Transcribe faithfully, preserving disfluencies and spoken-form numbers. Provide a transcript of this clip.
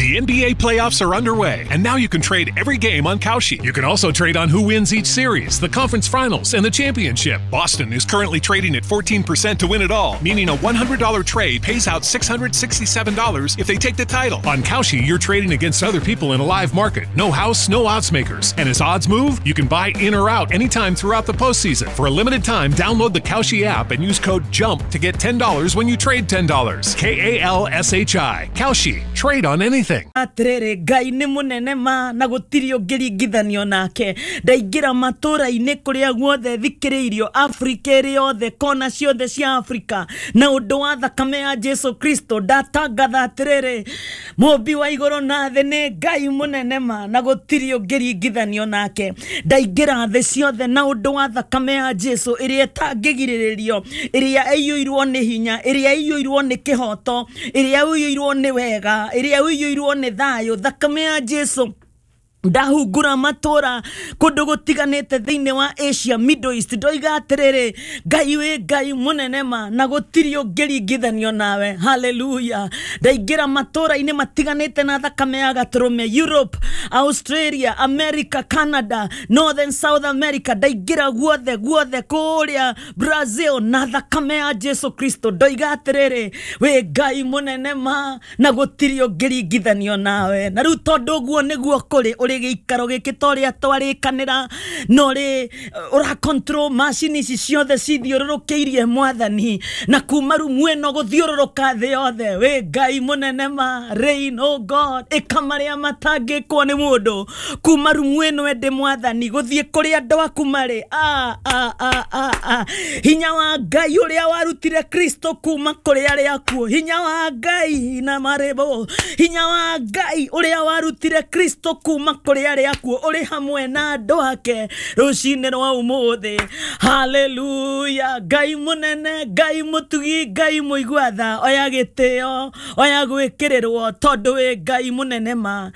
The N B A playoffs are underway, and now you can trade every game on Kalshi. You can also trade on who wins each series, the conference finals, and the championship. Boston is currently trading at fourteen percent to win it all, meaning a one hundred dollar trade pays out six hundred sixty-seven dollars if they take the title. On Kalshi, you're trading against other people in a live market. No house, no odds makers. And as odds move, you can buy in or out anytime throughout the postseason. For a limited time, download the Kalshi app and use code JUMP to get ten dollars when you trade ten dollars. K A L S H I. Kalshi. Trade on anything. Atirĩrĩ, Ngai nĩ mũnene ma na gũtirĩ ũngĩringithanio nake. Ndaingĩra matũra-inĩ kũrĩa guothe thikĩrĩirio Afrika ĩrĩ yothe, kona ciothe cia Afrika, na ũndũ wa thakame ya Jesu Kristo ndatangatha atĩrĩrĩ, mũmbi wa igũrũ na thĩ nĩ Ngai mũnene ma na gũtirĩ ũngĩringithanio nake. Ndaingĩra thĩ ciothe na ũndũ wa thakame ya Jesu ĩrĩa ĩtangĩgirĩrĩrio, ĩrĩa ĩiyũirwo nĩ hinya, ĩrĩa ĩiyũirwo nĩ kĩhoto, ĩrĩa ĩiyũirwo nĩ wega, ĩrĩa ĩiyũirwo nĩ thayũ. Thakame ya Jesu ndahungura matũra kũndũ gũtiganĩte thĩinĩ wa Asia, Middle East, ndoiga atĩrĩrĩ, Ngai wĩ Ngai mũnene ma na gũtirĩ ũngĩringithanio nawe. Haleluya. Ndaingĩra matũra-inĩ matiganĩte na thakame ya gatũrũme, Europe, Australia, America, Canada, Northern South America, ndaingĩra guothe guothe kũrĩa Brazil na thakame ya Jesu Kristo ndoiga atĩrĩrĩ, wĩ Ngai mũnene ma na gũtirĩ ũngĩringithanio nawe. Na rĩu tondũ ũguo nĩguo kũrĩ, ũrĩ gĩikaro gĩkĩ ta ũrĩa twarĩkanĩra, na ũrĩ ũra control macini ici ciothe cithiũrũrũkĩirie Mwathani, na kuma rumu ĩno gũthiũrũrũka thĩ yothe, wĩ Ngai mũnene ma. Reign, oh God, ĩka marĩa matangĩkwo nĩ mũndũ. Kuma rumu ĩno ĩndĩ Mwathani gũthiĩ kũrĩa andũ aku marĩ. Ah, ah, ah, ah, ah. Hinya wa Ngai ũrĩa warutire Kristo kuma kũrĩ arĩa akuũ, hinya wa Ngai na marĩbo, hinya wa Ngai ũrĩa warutire Kristo kuma kũrĩ arĩa akuũ ũrĩ hamwe na andũ ake rũcinĩ rwa ũmũthĩ. Haleluya. Ngai mũnene, Ngai mũtugi, Ngai mũigua tha, oya gĩtĩo, oya gwĩkĩrĩrwo tondũ wĩ Ngai mũnene ma.